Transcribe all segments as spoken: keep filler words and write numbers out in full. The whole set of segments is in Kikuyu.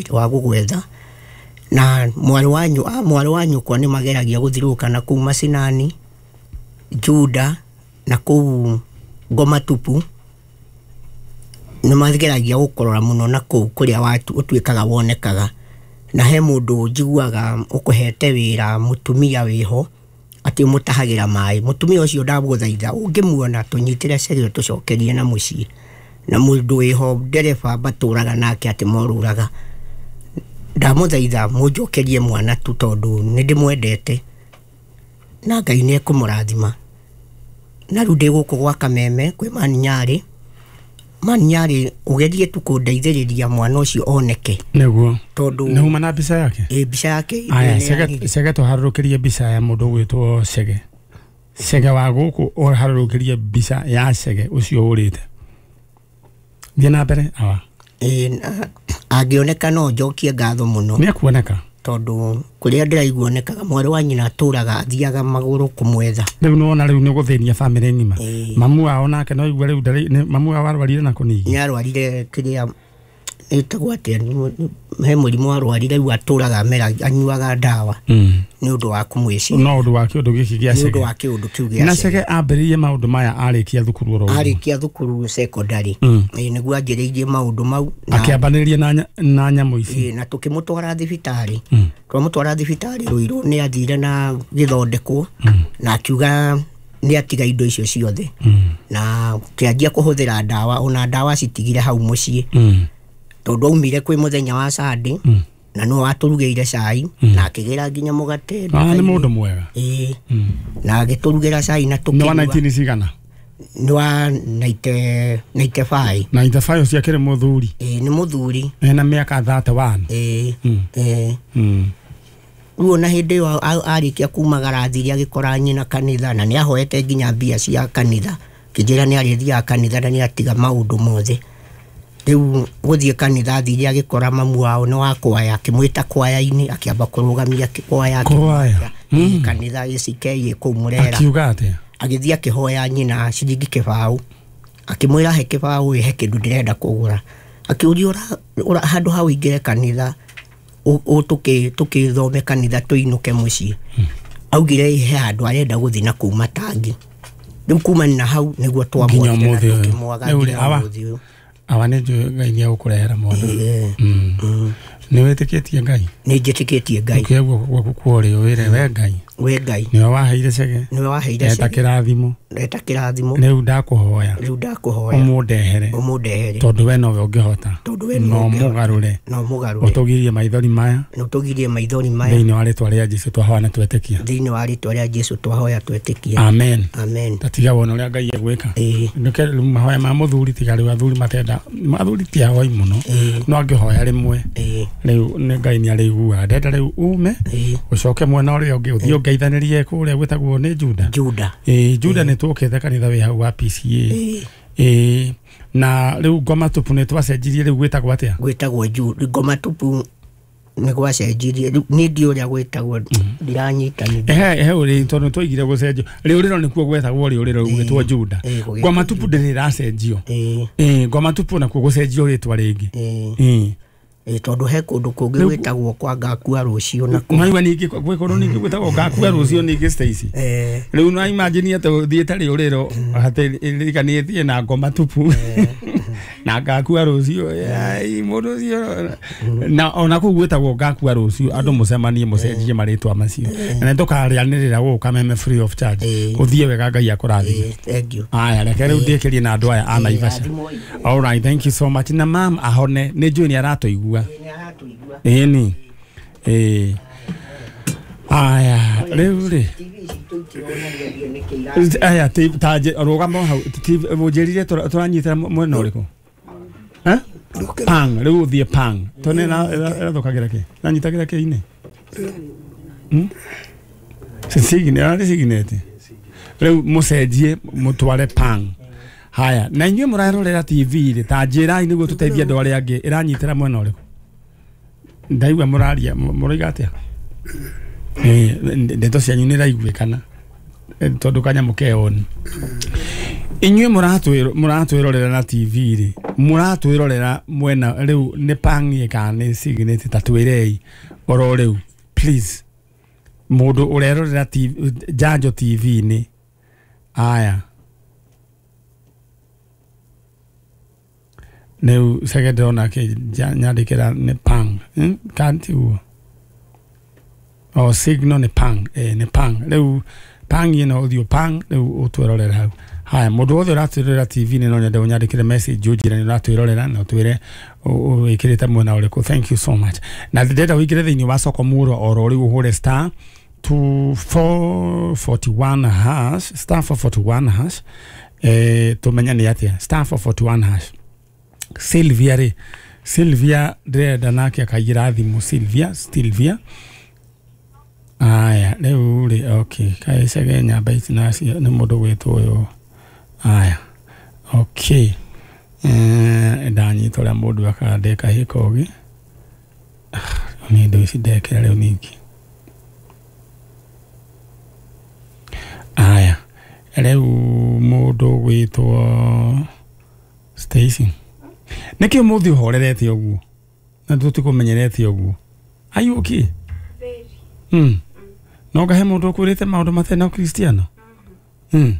wa gũgwetha na mwarĩ wanyu a mwarĩ wanyu kwa nĩ mageragia gũthirũka na kũu macinani Juda na kũu Ngoma Tupu nĩ mageragia gũkũrora mũno na kũu kũrĩa watu ũtuĩkaga wonekaga na he mũndũ njiguaga ũkũhete wĩra mũtumia wĩho atĩ mũtahagĩra maĩ mũtumia ũcio ndagũthaitha ũngĩmuona tũnyitĩre Chege tũcokerie na mũciĩ na mũndũ wĩho ndereba batũraga nake atĩ morũraga ndamũthaitha mũnjokerie mwana tu tondũ nĩ ndĩmwendete na Ngai nĩ ekũmũrathima na rĩu ndĩ gũkũ gwa Kameme kwĩ Maninyarĩ Maninyarĩ ũgerie tu kũndeithĩrĩria mwana ũcio oneke nĩguo tondũ nĩ uma na mbica yake ĩ mbica yake aya Chege Chege tũharũrũkĩrie mbica ya mũndũ ũgwĩtwo Chege Chege wa gũkũ ũharũrũkĩrie mbica ya Chege ũcio ũrĩte thiĩ na mbere awa ĩ angĩoneka no njokie ngatho mũno nĩ ekuoneka tondũ kũrĩa ndĩraigua onekaga mwarĩ wa nyina atũraga athiaga magũrũ kũmwetha rĩu nĩwona rĩu nĩ gũthĩnia bamĩrĩ ng'ima mamu wao nake no igua rĩu ndarĩ mamu wao arwarire na kũnigi nĩ arwarire kĩrĩa ĩtagwo atĩa he mũrimũ arwarire rĩu atũraga amera anyuaga ndawa nĩ ũndũ wa kũmwĩciria no ũndũ wa kĩũndũ gĩkĩ gĩa Chege nĩ ũndũ wa kĩũndũ kĩu gĩa na Chege ambĩrĩirie maũndũ maya arĩkia thukuru oro arĩkia thukuru secondary ĩ nĩguo anjĩrĩirie maũndũ mau akĩambanĩrĩria na na nyamũ ici na tũkĩmũtwara thibitarĩ twamũtwara thibitarĩ Rũirũ nĩ athire na gĩthondekwo na akiuga nĩ atiga indo icio ciothe na kĩanjia kũhũthĩra ndawa ona ndawa citigire hau mũciĩ tondũ aumire kwĩ mũthenya wa Sunday na no atũrugĩire cai na akĩgĩra nginya mũgate ah nĩ mũndũ mwega ĩĩ na agĩtũrugĩra cai na tũkĩnyua nĩ wa nineteen cigana nĩ wa ninety five ninety five ũcio akĩrĩ mũthuri ĩĩ nĩ mũthuri ena mĩaka thirty one ĩĩ ĩĩ rĩu ona hĩndĩ ĩyo arĩkia kumagara athire agĩkora nyina kanitha na nĩ ahoete nginya mbia cia kanitha kĩnjĩra nĩ arĩthiaga kanitha na nĩ atiga maũndũ mothe rĩu gũthiĩ kanitha athire agĩkora mamu wao nĩ wa kwaya akĩmwĩta kwaya-inĩ akĩamba kũrũgamia kwaya kwaya kanitha A C K ĩ kũu Mũrera akiuga atĩa agĩthiĩ akĩhoya nyina ciringi kĩbaũ akĩmwĩra he kĩbaũ ĩ he kĩndũ ndĩrenda kũgũra akĩũria handũ hau ingĩre kanitha tũkĩthome kanitha tũinũke mũciĩ augire he handũ arenda gũthiĩ na kũu matangi rĩu kumana na hau nĩguo twamwonire na tũkĩmwaga nginya ũmũthĩ ũyũ awa nĩ njũĩ Ngai nĩ egũkũrehera mwana nĩ wĩtĩkĩtie Ngai nĩ njĩtĩkĩtie Ngai ũkĩoya guoko gwaku kwa ũrĩo wĩre we Ngai we Ngai nĩwe waheire Chege nĩwe waheire eta kĩrathimo eta kĩrathimo rĩu ndakũhoya rĩu ndakũhoya ũmũndehere ũmũndehere tondũ we nowe ũngĩhota tondũ we no mũgarũre no mũgarũre ũtũgirie maithori maya na ũtũgirie maithori maya thĩinĩ wa rĩtwa rĩa Jesũ twahoya na twetĩkia thĩinĩ wa rĩtwa rĩa Jesũ twahoya twetĩkia amen amen tatiga wona ũrĩa Ngai egwĩka nĩke rĩu mahoya ma mũthuri tiga rĩu athuri matenda athuri ti ahoi mũno no angĩhoya rĩmwe rĩu nĩ Ngai nĩ arĩiguaga ndenda rĩu ume ũcoke mwena ũrĩa ũngĩ ũthiĩ ũngeithanĩrie kũrĩa gwĩtagwo nĩ Juda Juda ĩĩ Juda nĩ tũkĩte kanitha wĩ hau wa P C A ĩĩ na rĩu Ngoma Tupu nĩ twacenjirie rĩu gwĩtagwo atĩa gwĩtagwo Juda Ngoma Tupu nĩ gwacenjirie niĩ ndiũĩ ũrĩa gwĩtagwo ndiranyita ehe he ũrĩ tondũ twaigire gũcenjio rĩũrĩro nĩkuo gwetagwo rĩũrĩro gwĩtwo Juda Ngoma Tupu ndĩrĩ ĩracenjio ĩĩ Ngoma Tupu nakuo gũcenjio rĩtwa rĩngĩ ĩĩ ĩ tondũ he kũndũ kũngĩ gwĩtagwo kwa ngakua rũciũ na maigua ningĩ gwĩ kũndũ ningĩ gwĩtagwo ngakua rũciũ ningĩ Stacy rĩu no imagine atĩ ũthiĩte rĩũrĩro atĩ ririkanĩtie na Ngoma Tupu na ngakua rũciũ mũndũ ũcio na ona kũu gwĩtagwo ngakua rũciũ andũ mũcemanie mũcenjie marĩtwa macio na nĩtũkarĩanĩrĩra gũkũ Kameme free of charge ũthiĩ wega Ngai akũrathime thank you aya reke rĩu ndĩkĩrie na andũ aya a Naivasha all right thank you so much na mam ahone nĩ njũĩ nĩ aratũigua ĩni ĩĩ aya rĩu rĩ aya ta rũgamo hau ũnjĩrire tũranyitĩra mwena ũrĩkũ eh pang rĩu ũthiĩ pang tondũ ĩrathũkagĩra kĩ ĩranyitagĩra kĩ-inĩ sigine arĩ siginete rĩu mũcenjie mũtware pang haya na inyuĩ mũrarorera T V rĩ ta njĩrai nĩguo tũteithie andũ arĩa angĩ ĩranyitĩra mwena ũrĩkũ ndaigua mũraria mũroiga atĩa ndeto cianyu nĩ iraiguĩkana tondũ kanyamũ ke on inyuĩ mũratwĩrorera na T V rĩ Mũratwĩrorera mwena rĩu nĩ pangie kana nĩ Signet ta twĩrei oro rĩu please. Mũndũ ũrerorera T V, Njanjo T V-inĩ aya rĩu cege ndĩrona nyandĩkĩra nĩ pang hmm? Kana tiguo o signal nĩ pang eh, nĩ pang rĩu pang ĩno ũthiũ pang rĩu ũtwĩrorera hau. Haya mũndũ wothe ũratwĩrorera T V-inĩ no nyende ũnyandĩkĩre message ũnjĩre nĩ ũratwĩrorera na ũtwĩre wĩkĩrĩte mwena ũrĩkũ. Thank you so much. Na ndĩrenda ũingĩre thĩinĩ wa soko murwa oro rĩu ũhũre star two four forty one hash star four forty one hash eh tumenya nĩ atĩa star four forty one hash. Sylvia rĩ Sylvia ndĩrenda nake akaigĩra thimũ Sylvia Sylvia aya rĩu rĩ okay kaicege nyamba ici nacio nĩ mũndũ gwĩtwo ũyũ aya okay eh ndanyita ũrĩa mũndũ akandĩka hĩkogi nĩ indo ici ndekĩra rĩu ningĩ aya rĩu mũndũ gwĩtwo Stacy nĩkĩ ũmũthĩ ũhorerete ũguo na tũtikũmenyerete ũguo. Are you okay? Very. Mm. No ngahe mũndũ ũkwĩrĩte maũndũ matarĩ na Ũkristiano? Mm.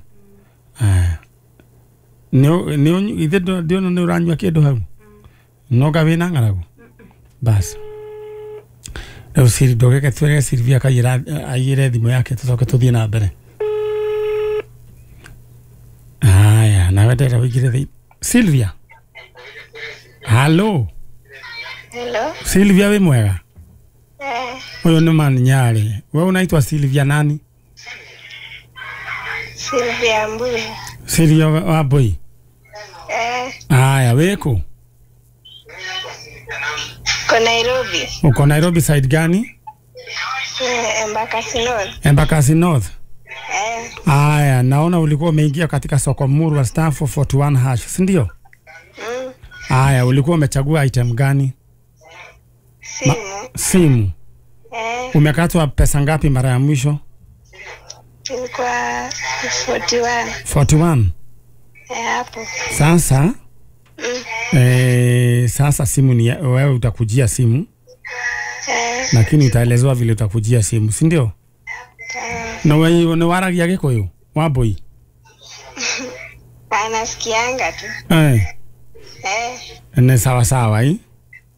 Aya. Nĩ nĩ ithe ndiona nĩ ũranyua kĩndũ hau. No nga wĩna ng'aragu? Bas. Rĩu Siri ndũgeke twĩre Sylvia akaiyĩra aiyĩre thimũ yake tũcoke tũthiĩ na mbere. Aya, nawe ndĩrenda ũingĩre thĩ. Sylvia. Hello. Hello. Sylvia wĩ mwega? Eh. Huyo ni man Nyari. Wewe unaitwa Sylvia nani? Sylvia Mbui. Sylvia wa Mbui. Eh. Haya, weko? Uko Nairobi. Uko Nairobi side gani? Eh, Embakasi North. Embakasi North. Eh. Haya, naona ulikuwa umeingia katika soko murwa star four forty one hash, si ndio? Mm. Haya, ulikuwa umechagua item gani? Simu. Ma simu. Eh. Umekatwa pesa ngapi mara ya mwisho? Ilikuwa forty one. forty one. Eh, hapo. Sasa mm. Eh, sasa simu ni wewe utakujia simu. Eh. Lakini utaelezewa vile utakujia simu, si ndio? Eh. Na wewe ni waragia Gikuyu? Wambui. Anasikianga tu. Eh. Eh. Ni sawa sawa eh?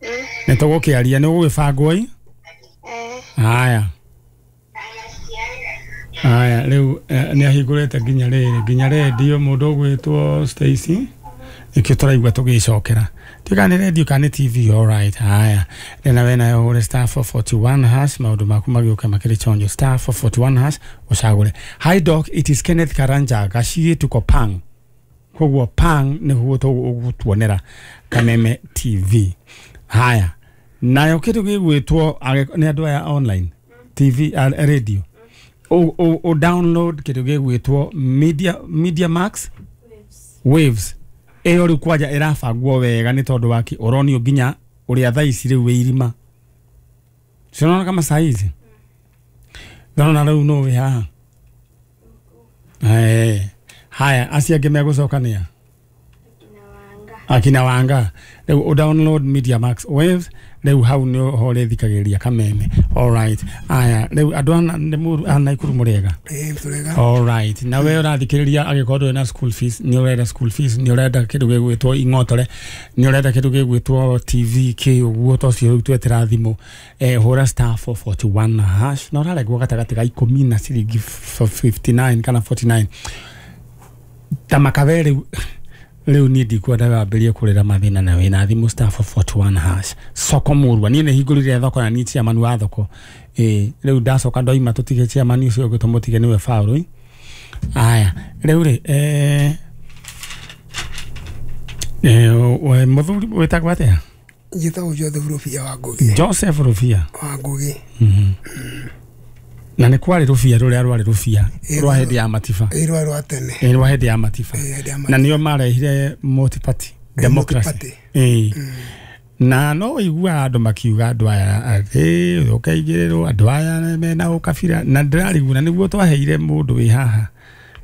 Mm. Nĩ tũgũkĩaria nĩ ũgũgĩbangwo ĩ? Eh. Haya. Haya rĩu nĩ ahingũrĩte nginya rĩrĩ nginya redio mũndũ ũgwĩtwo Stacy nĩkĩo tũraigua tũgĩcokera tiga nĩ redio kana nĩ T V. All right. Haya rĩna we nayo ũhũre star four forty one hash maũndũ maku magĩũke makĩrĩ chonjo star four forty one hash ũcagũre. Hi doc, it is Kenneth Karanja Gaciĩ tuko pang koguo pang nĩguo tũgũtuonera Kameme T V. Haya nayo kĩndũ gĩgwĩtwo nĩ andũ aya online T V uh, radio o, o, o download kĩndũ gĩgwĩtwo Media Media Max Waves ĩyo rĩu kwanja ĩrabangwo wega nĩ tondũ waki ũronio nginya ũrĩa thaa ici rĩu wĩ irima cionona kama saa hizi ndona rĩu no wĩ haha. Eh, haya acio angĩ megũcokania akina Wanga rĩu o download Media Max Waves rĩu hau nĩ ho rĩthikagĩrĩria Kameme. All right. Aya rĩu andũ ana nĩ mũru ana Ikuru mũrĩega. Eh, tũrega. All right. Na we ũrathikĩrĩria angĩkorwo ndũrĩ na school fees nĩ ũrenda school fees nĩ ũrenda kĩndũ gĩgwĩtwo ing'otore nĩ ũrenda kĩndũ gĩgwĩtwo T V kĩ ũguo to cio rĩu twetera thimũ eh hũra star four forty one hash na ũraregwo gatagatĩ ga ikũmi na ciringi fifty nine kana forty nine ta makabe rĩu rĩu niĩ ndikwenda wambĩrĩrie kũrĩra mathĩna na wĩna thimũ star four forty one hash soko murwa niĩ nĩ hingũrire thoko na niĩ chairman wa thoko ĩ rĩu ndacoka ndoima tũtige chairman ũcio ũngĩ tũmũtige nĩwe Faũlũ. Aya rĩu rĩ eh eh mũthuri wĩtagwo atĩa? Njĩtagwo Joseph Rũbia wa Ngũgĩ. Joseph Rũbia wa Ngũgĩ. Mhm. Na nĩ kwarĩ rũbia rũrĩa rwarĩ rũbia rwa hĩndĩ ya Matiba. Ĩ rwa rwa tene. Ĩ rwa hĩndĩ ya Matiba. Na nĩo marehire multi-party democracy. Ĩ. Na no ũiguaga andũ makiuga andũ aya atĩ ũkaigĩrĩrwo andũ aya mena ũkabira na ndĩrarigwo na nĩguo twaheire mũndũ wĩ haha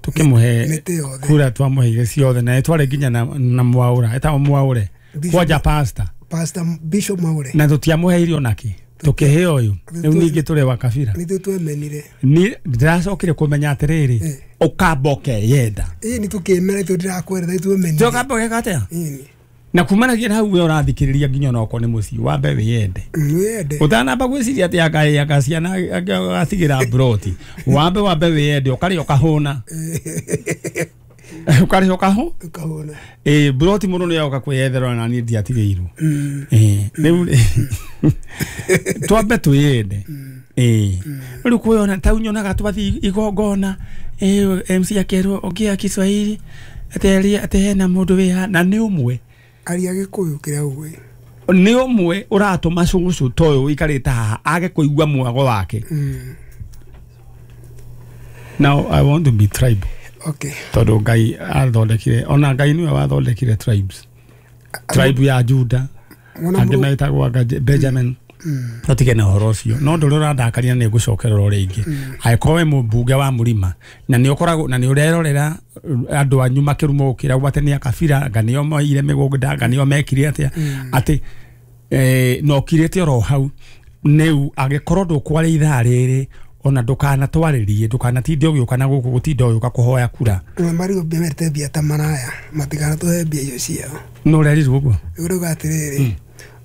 Tukimuhe kura twamuheire ciothe na tware nginya na, na mwaura etagwo mwaure kwanja pastor Pastor Bishop Mwaure na tutiamuheire onaki tukihe uyu riu ningi ture wa kabira ni twemenire ni ndiracokire kumenya atiriri ukamboke yenda ii ni tukimera itu ndirakwerera itwemenire tukamboke katea na kumanagia hau we urathikiriria nginya onoko ni mucii wambe wiyende wiyende utanamba gwiciria ati aka aka ciana agatigira broti wambe wambe wiyende ukaria ukahuna ukaria ukahu ukahuna eh broti muno ni oka kwiyethera na ni ndiatigirwo eh riu twambe twiyende eh riu kwiyona tau nyonaga twathi igongona eh M C akerwo ongea Kiswahili ati ati hena mundu wi na ni umwe aria Gikuyu kiria uwe ni umwe uratuma cucu toyo wikarite haha age kuigua mwago wake. Now I want to be tribal. Okay. Tondu Ngai athondekire ona Ngai niwe wathondekire tribes. Tribe ya Juda angi metagwo Benjamin. Tutige na horo ucio no nduri urandakaria ni ngucokerera ringi angikorwo we mumbunge wa murima na ni ukoragwo na ni urerorera andu anyu makirumwo gukira gwate ni akabira nga nio moire migunda nga nio mekire atia ati eh no kirite oro hau niu angikorwo ndukware ithaa riri ona ndukana twaririe ndukana tinde ugiuka na guku gutinda ugiuka kuhoya kura mari ubimerete mbia ta maraya matigana tuhe mbia icio ciao no rerirwo uguo uruga atiriri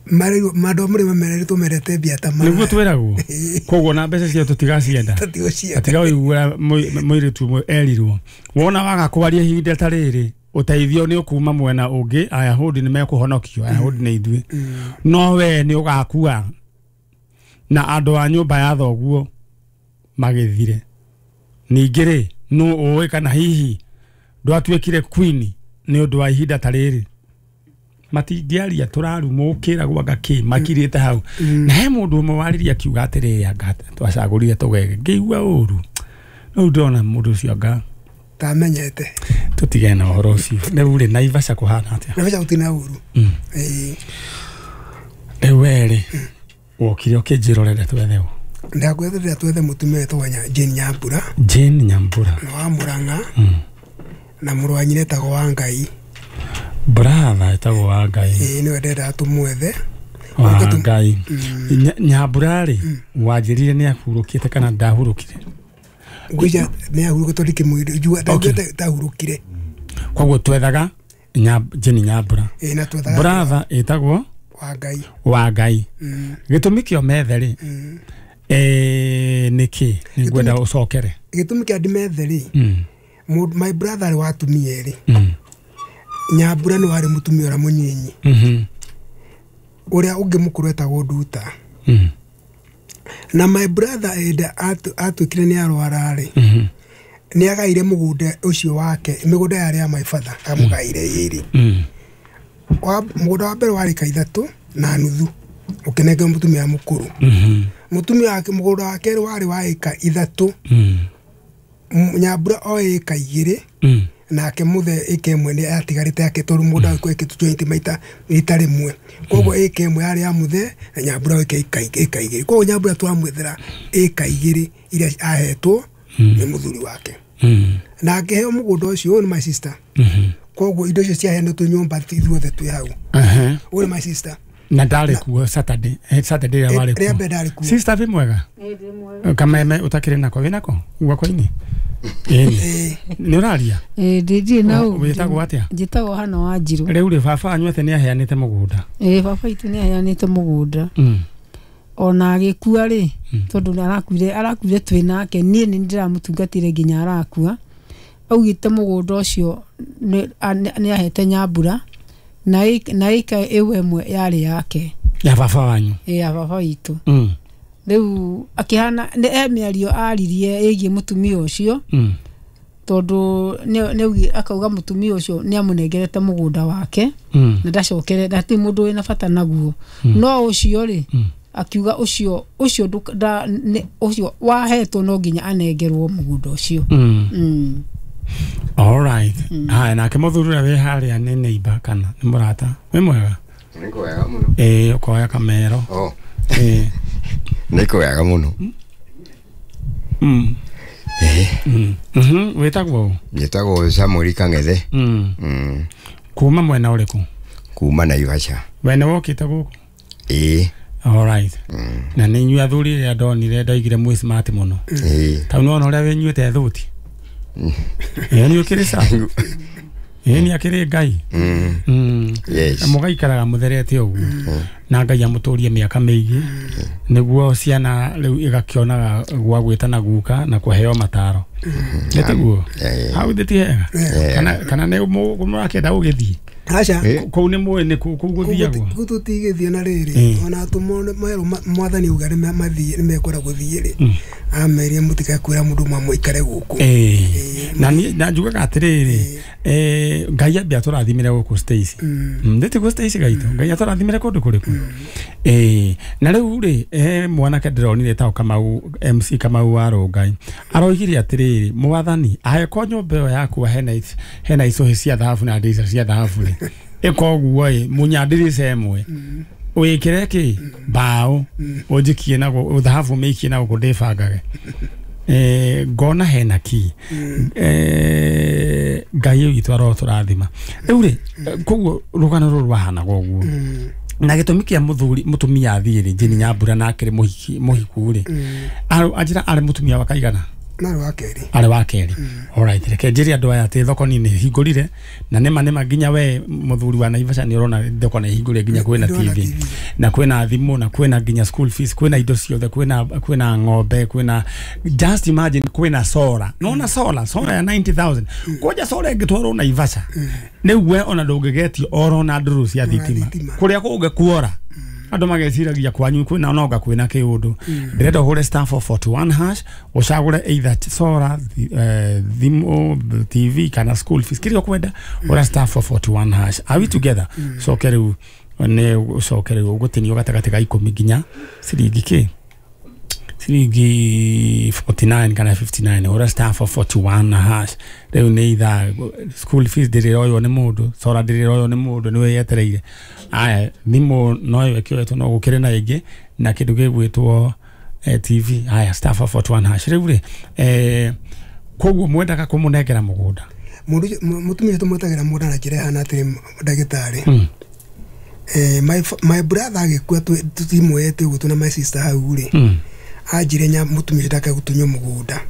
mari mando muri mamerere tumerete mbia ta maraya niguo twiragwo koguo na mbeca cio tutigacienda atiga uigura muiritu umwe erirwo wona waga kwaria ihinda ta riri uteithio ni ukuma mwena ungi Ayahudi ni mekuhonokio Ayahudi ni ithuĩ no we ni ugakua na andu a nyumba ya thoguo magithire ningĩ rĩ no ũĩ kana hihi ndwatuĩkire queen ni undu wa ihinda ta rĩrĩ matingĩaria tũrarumwo ũkĩragwo anga kĩ makirĩte hau na he mũndũ ũmwe waririe akiuga atĩrĩrĩ anga twacagũrire tũgege ngĩigua ũru rĩu ndĩrona mũndũ ũcio anga tamenyete tũtigane na ũhoro ũcio rĩu rĩ Naivasha kũhana atĩa Naivasha gũtirĩ na ũru ĩĩ rĩu we rĩ wokire ũkĩnjĩrorere twethe ũ ndakwetherera twethe mũtumia wetagwo Jane Nyambura Jane Nyambura wa Murang'a na mũrũ wa nyina etagwo Wangai brother etagwo Wangai ĩĩ nĩwe ndĩrenda tũmwethe Wangai Nyambura rĩ wanjĩrire nĩ ahurũkĩte kana ndahurũkire ngwĩciria nĩ ahurũkĩte tondũ ndikĩmũĩ ndaugĩte tahurũkire koguo twethaga Jane Nyambura ĩĩ na twethaga brother etagwo Wangai Wangai gĩtũmi kĩo methe rĩ eh niki ningwenda ucokere gĩtũmi kĩa ndimethe rĩ my brother wa atumia erĩ Nyambura nĩ warĩ mũtumia ũrĩa mũnyinyi ũrĩa ũngĩ mũkũrũ etagwo Nduta na my brother enda atuĩkire nĩ arwara rĩ nĩ agaire mũgũnda ũcio wake mĩgũnda yarĩ ya my father amũgaire ĩrĩ mũgũnda wa mbere warĩ ka ithatũ na nuthu ũkĩnengera mũtumia mũkũrũ mũtumia wake mũgũnda wa kerĩ warĩ wa ĩka ithatũ Nyambura o ĩka igĩrĩ nake muthe ĩka ĩmwe nĩ yatigarĩte yake tondũ mũgũnda wake ĩkĩtwo joint maita rita rĩmwe koguo ĩka ĩmwe yarĩ ya muthe na Nyambura ĩka ĩka igĩrĩ koguo Nyambura twamwethera ĩka igĩrĩ iria ahetwo nĩ mũthuri wake na akĩheo mũgũnda ũcio ũyũ nĩ my sister koguo indo icio ciaheanĩtwo nyũmba ithuothe twĩ hau ũyũ nĩ my sister na ndarĩ kuo Saturday Saturday ĩrĩa warĩ kuo rĩa mbere ndarĩ kuo sister wĩ mwega kameme ũtakĩrĩ nako wĩ nako guoko-inĩ ĩni nĩ ũraria ĩĩ ndirĩ na ũũ wĩtagwo atĩa njĩtagwo Hana Wanjirũ rĩu rĩ baba wanyu atĩ nĩ aheanĩte mũgũnda ĩĩ baba itũ nĩ aheanĩte mũgũnda ona agĩkua rĩ tondũ arakuire arakuire twĩ nake niĩ nĩ ndĩramũtungatĩire nginya arakua augĩte mũgũnda ũcio nĩ ahete Nyambura na na ĩka ĩyo ĩmwe yarĩ yake ya baba wanyu ĩ ya baba witũ rĩu akĩhana nĩ e mĩario aririe ĩgiĩ mũtumia ũcio tondũ nĩ akauga mũtumia ũcio nĩ amũnengerete mũgũnda wake na ndacokere hatirĩ mũndũ wĩna bata naguo no ũcio rĩ akiuga ũcio ũcio ũcio wahetwo no nginya anengerwo mũgũnda ũcio. All right. Haya nake mũthuri ũrĩa wĩ harĩa nĩ neighbor kana nĩ mũrata wĩ mwega nĩ kwega mũno ĩĩ ũkoya kamero oh ĩĩ nĩ kwega mũno mm Mhm wĩtagwo? Njĩtagwo Samuel Kang'ethe. Mm. Mm. Kuma mwena ũrĩkũ? Kuma Naivasha. We nĩ wokĩte gũkũ? Ĩĩ. All right. Na nĩ inyuĩ athuri rĩrĩa ndonire ndoigire mwĩ smart mũno. Ĩĩ. Tau nĩwona ũrĩa wĩnyuĩte thuti. Ĩĩ nĩ ũkĩrĩ sawa. Ĩĩ nĩ akĩrĩ Ngai. Mm. Mm. Yes. Mũgaikaraga mũtherete ũguo. Na Ngai amũtũrie mĩaka mĩingĩ nĩguo ciana rĩu igakĩonaga gwa gwĩtana guka na kũheo mataro. Nĩ tiguo? Hau thĩ ti hega? Kana kana nĩ mũrakĩenda gũgĩthiĩ? Aca. Kũu nĩ mũĩ nĩ kũu gũthiagwo? Kũu tũtigĩthiĩ na rĩrĩ ona atũmwo merwo mwathani auga nĩ mathiĩ nĩ mekwenda gũthiĩ rĩ amerie mũtikae kwĩra mũndũ ũmwe mũikare gũkũ. Na niĩ na njugaga atĩrĩrĩ eh Ngai ambia atũrathimire gũkũ Stacy. Nĩ tiguo Stacy gaitũ? Ngai atũrathimire kũndũ kũrĩkũ? Eh na rĩu rĩ eh mwanake ndĩronire tao Kamau M C Kamau wa Rongai aroigire atĩrĩrĩ mwathani angĩkorwo nyũmba ĩyo yaku hena hena icũhĩ cia thahabu na ndirica cia thahabu rĩ ĩka ũguo ĩ munya ndirica ĩmwe wĩkĩre kĩ mbaũ ũnjikie na thahabu mĩikie na gũkũ ndĩbangage eh ngona hena ki eh Ngai witũ arotũrathima. Rĩu rĩ koguo rũgano rũrũ rwahanaga ũguo na gĩtũmi kĩa mũthuri mũtumia athiĩ rĩ Jane Nyambura na akĩrĩ mũhiki mũhiku rĩ anjĩra arĩ mũtumia wa kaigana? Arĩ wa kerĩ. Arĩ wa kerĩ. Alright, reke njĩre andũ aya atĩ thoko nĩ hingũrire na nĩma nĩma nginya we mũthuri wa Naivasha nĩ ũrona thoko nĩ hingũrire nginya kwĩna T V na kwĩna thimũ na kwĩna nginya school fees kwĩna indo ciothe kwĩna kwĩna ng'ombe kwĩna just imagine kwĩna solar. Nona solar solar ya ninety thousand koja solar ĩngĩtwarwo Naivasha rĩu we ona ndũngĩgetio orona ndũrũ cia thitima kũrĩa kũngĩkuora andũ mageciragia kwanyu kwĩna nonga kwĩna kĩũndũ. Ndĩrenda ũhũre star four forty one hash ũcagũre either solar thimũ T V kana school fees kĩrĩa ũkwenda ũra star four forty one hash. Are we together? Coke rĩu nĩ ũcoke rĩu ũgũtinio gatagatĩ ga ikũmi nginya ciringi kĩ ciringi forty nine kana fifty nine ũra star four forty one hash. Rĩu nĩ ithaa school fees ndĩrĩroywo nĩ mũndũ solar ndĩrĩroywo nĩ mũndũ nĩ wĩyetereire. Aya thimũ no ĩkĩoetwo no gũkĩrĩ na ĩngĩ na kĩndũ gĩgwĩtwo T V. Aya star four forty one hash. Rĩu rĩ eh koguo mwendaga kũmũnengera mũgũnda mũndũ mũtumia tũmwetagĩra mũgũnda na njĩra ĩhana atĩrĩ ndagĩtarĩ. Eh my my brother agĩkua tũtimwete ũguo tũna my sister hau rĩ anjire nya mũtumia ndakae gũtunywo mũgũnda.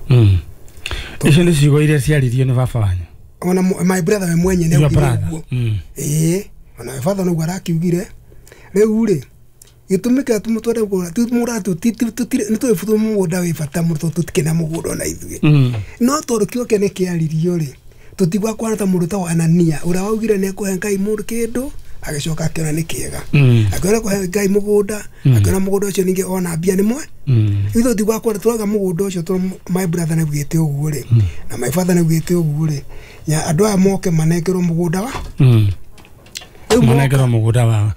Icio nĩ ciugo iria ciaririo nĩ baba wanyu? Ona my brother we mwenye nĩ augire ũguo. Ĩĩ ona father noguo arakiugire. Rĩu rĩ gĩtũmi kĩrĩa tũmũtware mũgũnda nĩ tũĩ mũgũnda wĩ bata mũno tondũ tũtikĩna mũgũnda ona ithuĩ no tondũ kĩo kĩene kĩaririo rĩ tũtigwa kwana ta mũndũ ta wa Anania ũrĩa waugire nĩ ekũhe Ngai mũndũ kĩndũ agĩcoka akĩona nĩ kĩega akĩona kũhe Ngai mũgũnda akĩona mũgũnda ũcio ningĩ ona mbia nĩ mwe ithuĩ tũtigwa kwana tũrauga mũgũnda ũcio tondũ my brother nĩ augĩte ũguo rĩ na my father nĩ augĩte ũguo rĩ andũ aya moke manengerwo mũgũnda wa manengerwo mũgũnda wao.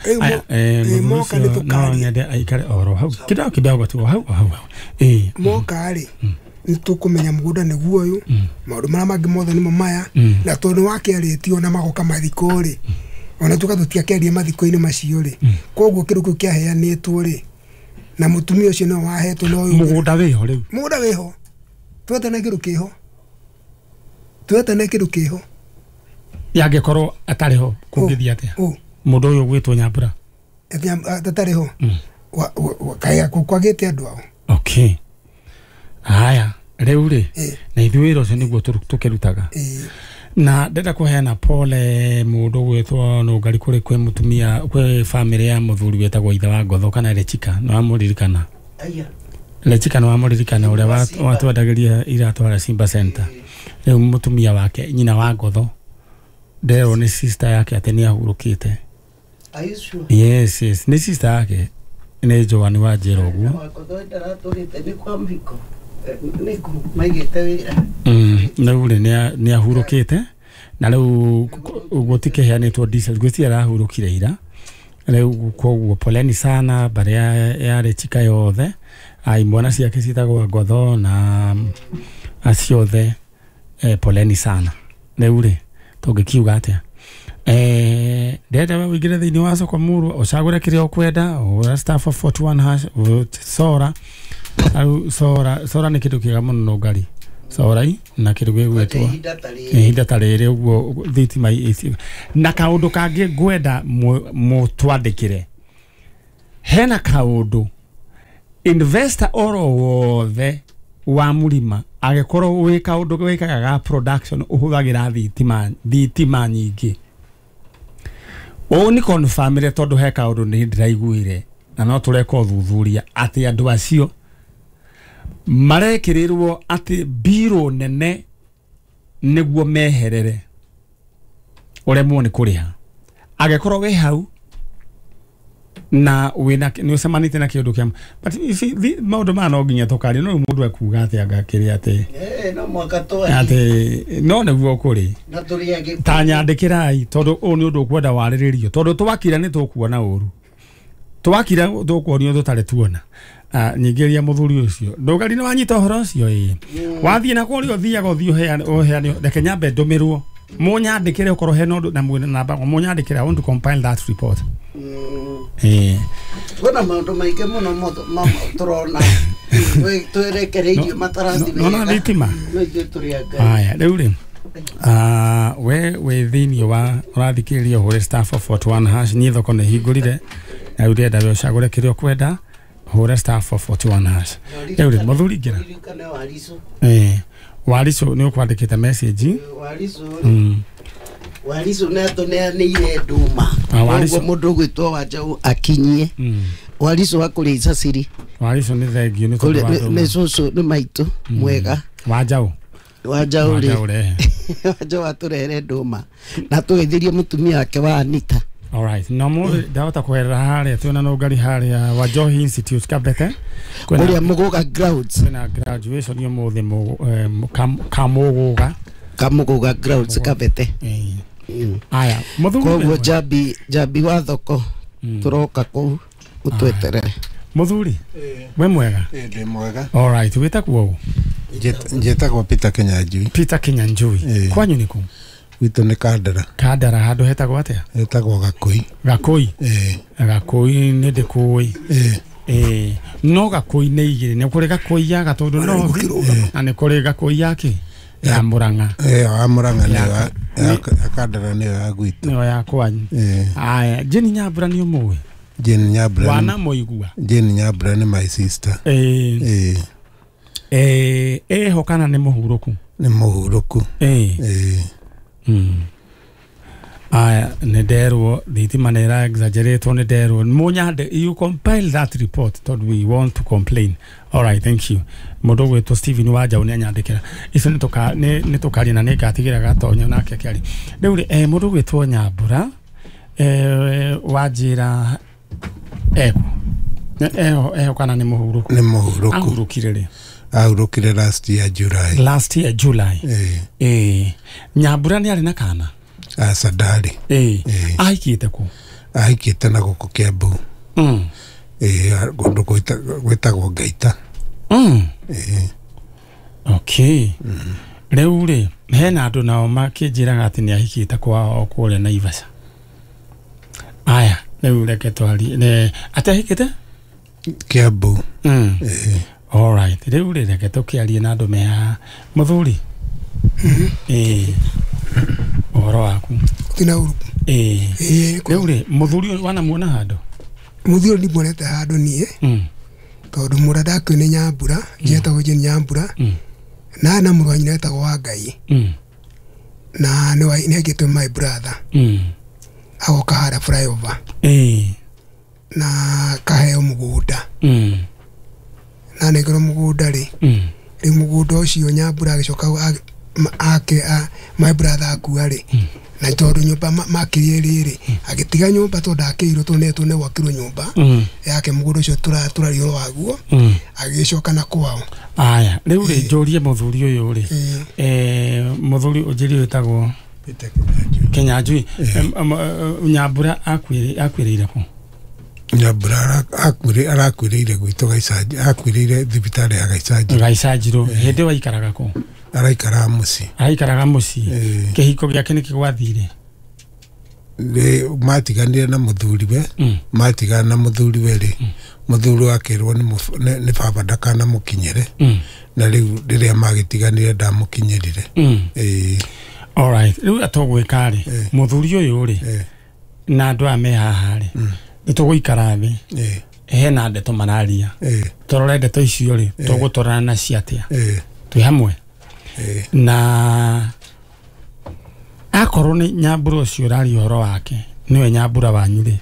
Eh moka nĩ tũkaria no nyende aikare oro hau kidogo kidogo tu hau hau hau. Eh moka rĩ nĩ tũkũmenya mũgũnda nĩguo ũyũ maũndũ marĩa mangĩ mothe nĩmo maya na tondũ wakĩarĩtio na magoka mathiko rĩ ona tuka tũtiakĩaria mathiko-inĩ macio rĩ koguo kĩndũ kĩu kĩaheanĩtwo rĩ na mũtumia ũcio nĩwe wahetwo na ũyũ mũgũnda wĩho rĩu mũgũnda wĩho twetane kĩndũ kĩho twetane kĩndũ kĩho yangĩkorwo atarĩ ho kũngĩthiĩ atĩa mũndũ ũyũ ũgwĩtwo Nyambura atarĩ ho kaya kwagĩte andũ ao. Okay haya rĩu rĩ na ithuĩ wĩra ũcio nĩguo tũkĩrutaga na ndenda kũheana pole mũndũ ũgwĩtwo Nũngari kũrĩ kwĩ mũtumia kwĩ famĩlĩ ya mũthuri wĩtagwo ithe wa Ngotho kana Lechika nĩ wamũririkana? Lechika nĩ wamũririkana ũrĩa watwendagĩria iratũ harĩa Simba Center. Rĩu mũtumia wake nyina wa Ngotho nderwo nĩ sister yake atĩ nĩ ahurũkĩte. Yes yes nĩ sister yake nĩ Joan wa Njera ũguo. Rĩu rĩ nĩ ahurũkĩte na rĩu gũtikĩheanĩtwo details gwĩciria arahurũkire ira rĩu koguo poleni sana mbarĩ ya Lechika yothe imwana ciake ciĩtagwo Ngotho na acio othe poleni sana. Rĩu rĩ tũngĩkiuga atĩa eh ndĩrenda we ũingĩre thĩinĩ wa soko mũrũ ũcagũre kĩrĩa ũkwenda ũra star four forty one hash sora Au sora sora nĩ kĩndũ kĩega mũno Nũngari. Corai na kĩndũ gĩgwĩtwo ihinda ta rĩrĩ ũguo thitima ici na kaũndũ kangĩ ngwenda mũtwandĩkĩre hena kaũndũ investor oro wothe wa mũrima agĩkorwo wĩ kaũndũ wĩkaga ga production ũhũthagĩra thitima thitima nyingĩ ũũ nĩ confirmire tondũ he kaũndũ nĩ ndĩraiguire na no tũreka ũthuthuria atĩ andũ acio marekĩrĩrwo atĩ mbirũ nene nĩguo meherere ũremwo nĩ kũrĩha agĩkorwo wĩ hau na wĩna nĩ ũcemanĩtie na kĩũndũ kĩa but you see maũndũ maya no nginya tũkaria no mũndũ ekuga atĩ anga kĩrĩa atĩ no mwaka twarie atĩ no nĩguo kũrĩ na tũrĩage ta nyandĩkĩrai tondũ ũũ nĩ ũndũ ũkwenda warĩrĩrio tondũ twakira nĩ tũkuona ũru twakira tũkuonio tũtarĩ tuona nyingĩria mũthuri ũcio ndũgari nĩ wanyita ũhoro ũcio ĩĩ wathiĩ na kũrĩa ũthiaga ũthiĩ ũheane ũheane reke nyambe ndũmĩrwo mũnyandĩkĩre ũkorwo hena ũndũ na mwĩna namba mũnyandĩkĩre I want to compile that report eh kwĩna maũndũ maingĩ mũno tũrona twerekereirio matarathi wega no thitima no ithuĩ tũrĩ a Ngai haya rĩu rĩ ah we wĩ thĩinĩ wa ũrathikĩrĩria ũhũre star four four one hash niĩ thoko nĩ hingũrire na rĩu ndĩrenda we ũcagũre kĩrĩa ũkwenda hũra star four four one hash rĩu rĩ mũthuri ingĩra eh Waricu nĩ ũkwandĩkĩte message Waricu Waricu nĩ atũneanĩire nduma koguo mũndũ ũgwĩtwo Wanjaũ akinyie Waricu wa kũrĩa Icaciri Waricu nĩ thengio nĩ tondũ wa nduma nĩ cũcũ nĩ maitũ mwega Wanjaũ Wanjaũ rĩ Wanjaũ atũrehere nduma na tũgeithirie mũtumia wake wa Anita. All right. No more ndahota kũherera harĩa twĩna nũngari harĩa wa Njohi Institute Kabete kũrĩa Mũgũga grounds kwĩna graduation ũmũthĩ Kamũgũga Kamũgũga grounds Kabete. Aya mũthuri koguo njambi njambi wa thoko tũroka kũu ũtweterere mũthuri we mwega ndĩ mwega. All right wĩtagwo ũ? Njĩtagwo Peter Kinyanjui. Peter Kinyanjui kwanyu nĩ kũ? Gwitũ nĩ Kandara. Kandara handũ hetagwo atĩa? Hetagwo Gakũi. Gakũi? Ĩĩ. Gakũi nĩ ndĩkũĩ. Ĩĩ. Ĩĩ. No Gakũi nĩ igĩrĩ nĩ kũrĩ Gakũi ya Gatũndũ North na nĩ kũrĩ Gakũi ya kĩ? Ya Murang'a. Ĩĩ ya Murang'a nĩyo ya Kandara nĩyo ya gwitũ. Nĩyo ya kwanyu. Ĩĩ. Aya Jane Nyambura nĩ ũmũĩ? Jane Nyambura. Wanamũigua? Jane Nyambura nĩ my sister. Ĩĩ. Ĩĩ. Ĩĩ eho kana nĩ mũhurũku? Nĩ mũhurũku. Ĩĩ. Ĩĩ. Mm. Aya nĩ nderwo thitima nĩ ĩra exaggerate nĩ nderwo mũnyande you compile that report tondũ we want to complain. All right thank you mũndũ ũgwĩtwo Stephen Wanjaũ nĩ anyandĩkĩra icio nĩ tũkaria na nĩ ngatigĩra gatonya nake akĩaria rĩu rĩ eh, mũndũ ũgwĩtwo Nyambura eh, wanjĩra eko eho eho kana nĩ mũhurũku? Nĩ mũhurũku. Ahurũkire rĩ? Ahurũkire last year July. Last year July. Eh. Eh. Nyambura nĩ arĩ na kana? Aca ndarĩ. Eh. Ahikĩte kũ? Ahikĩte na gũkũ Kiambu. Mm. Eh, kũndũ gwĩtagwo Ngaita. Mm. Eh. Okay. Mm. Rĩu rĩ hena andũ nao makĩnjĩraga atĩ nĩ ahikĩte kwao kũrĩa Naivasha. Aya, rĩu reke twarie. Ne atĩ ahikĩte? Kiambu. Mm. Eh. All right. Rĩu rĩ reke tũkĩarie na andũ me haha. Mũthuri. Eh. Ũhoro waku? Tina ũru. Eh. Eh. Rĩu rĩ mũthuri wanamuona handũ? Mũthuri ndimuonete handũ niĩ. Mm. Tondũ mũrĩa ndakĩũĩ nĩ Nyambura, njetagwo Jane Nyambura. Mm. Na na mũrũ wa nyina etagwo Wangai. Mm. Na nĩ nĩ aigĩtwo my brother. Mm. Agoka harĩa flyover. Eh. Na kaheo mũgũnda. Mm. Na nengerwo mũgũnda rĩ. Mm. Rĩu mũgũnda ũcio Nyambura agĩcoka ake my brother akua rĩ. Na tondũ nyũmba makĩrie rĩrĩ agĩtiga nyũmba tondũ ndakĩirwo tondũ nĩ nĩ gwakirwo nyũmba yake mũgũnda ũcio tũraria ũhoro waguo agĩcoka na kwao. Aya rĩu rĩ njũrie mũthuri ũyũ rĩ eh mũthuri ũnjĩrie wĩtagwo Peter Kinyanjui. Kinyanjui Nyambura akuĩrĩire kũ? Nyambura arakuĩrĩire gwitũ Gaicanji, akuĩrĩire thibitarĩ ya Gaicanji. Gaicanjirũ hĩndĩ ĩyo aikaraga kũ? Araikaraga mũciĩ. Araikaraga mũciĩ. Kĩhiko gĩake nĩkĩ gwathire? Matiganire na muthuriwe matigana na muthuriwe ri muthuri akirwo ni ni baba ndakana mukinyire na riu riria magitiganire ndamukinyirire. Eh, all right, riu atogwika ri muthuri uyu ri na andu aya me haha ri nituguikara thi hena ndeto mararia torore ndeto icio ri tugutorana nacio atia twi hamwe na akorwo ni Nyambura ucio uraria uhoro wake niwe Nyambura wanyu ri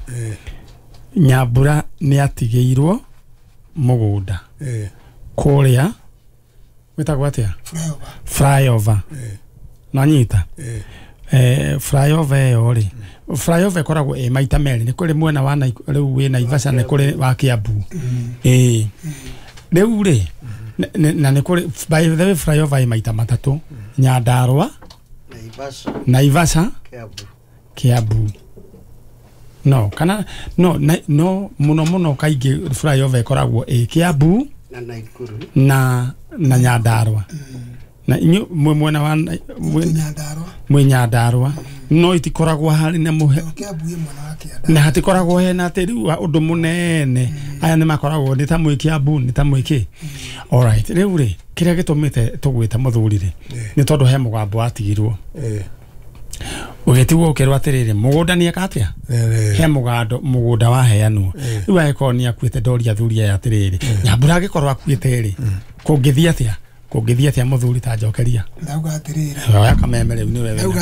Nyambura ni atigĩirwo mũgũnda kũrĩa wĩtagwo atĩa flyover nanyita eh flyover ĩyo rĩ flyover ĩkoragwo ĩ maita merĩ nĩ kũrĩ mwena wa rĩu wĩ Naivasha nĩ kũrĩ wa Kiambu ĩĩ rĩu rĩ na nĩ kũrĩ by the way flyover ĩ maita matatũ Nyandarua Naivasha Naivasha Kiambu Kiambu no kana no na, no muno muno kaingĩ flyover ĩkoragwo ĩ Kiambu na Naikuru na na Nyandarua na inyu mwe mwena wa Nyandarua mwe Nyandarua no itikoragwo harĩ na muhe Kiambu ĩ mwena wa Kĩanda na hatikoragwo hena atĩ rĩu ũndũ mũnene aya nĩ makoragwo nĩ ta mwĩ Kiambu nĩ ta mwĩ kĩ. All right, rĩu rĩ kĩrĩa gĩtũmĩte tũgwĩte mũthuri rĩ nĩ tondũ he mũgambo watigirwo ũgĩtigwo ũkĩrwo atĩrĩrĩ mũgũnda nĩ eka atĩa he mũgando mũgũnda waheanwo rĩu angĩkorwo nĩ akuĩte ndoria athuri aya atĩrĩrĩ Nyambura angĩkorwo akuĩte rĩ kũngĩthiĩ atĩa kũngĩthiĩ atĩa mũthuri ta njokeria ndauga atĩrĩrĩ oya kameme rĩu nĩwe ndauga